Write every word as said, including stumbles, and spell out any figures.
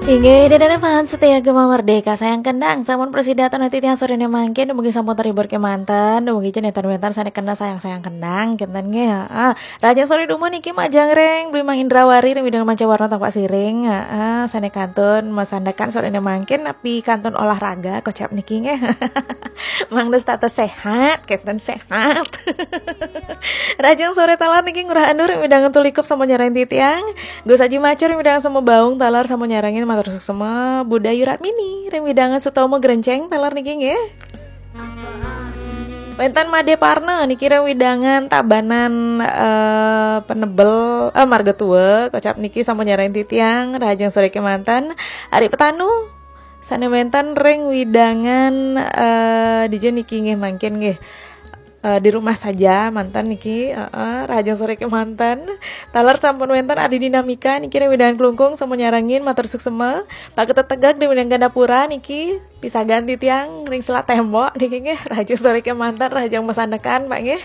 Inggih, ida dané fans setia Gema Merdeka, sayang kendang. Sampun prasida titiang soréné mangkin, dumugi sampun terhibur kémanten, dumugi cenah wénten sané kena sayang-sayang kendang, kénten nggih. Heeh. Rahajeng soré dumun niki majeng ring Bli Mang Indrawari ring Widang Manca Warna Tampaksiring. Heeh, sané kantun masandekan soréné mangkin napi kantun olahraga kocap niki nggih. Mangda setata sehat, kénten sehat. Rahajeng soré taler niki Ngurah Anu ring Widang Tulikup sampun nyarengin titiang. Gus Aji Macur ring Widang Sema Baung taler sampun nyarengin, matur suksma. Budayu Ratmini ring Widang Sutomo Grenceng taler niki nggih. Wénten Madé Parna niki ring Widangan Tabanan, eh, Penebel, eh, Marga Tua, kocap niki sampun nyarengin titiang, rahajeng soré kémanten. Ari Petanu sané wénten ring Widangan, eh, dija niki nggih mangkin nggih. Eh, di rumah saja manten niki, heeh, rahajeng soré kémanten. Taler sampun wénten Adi Dinamika niki ring Widangan Klungkung sampun nyarengin, matur suksma. Pak Ketut Tegak ring Widangan Gandapura niki pisagan titiang ring Selat Tembok niki nggih, rahajeng soré kémanten, rahajeng masandekan Pak nggih.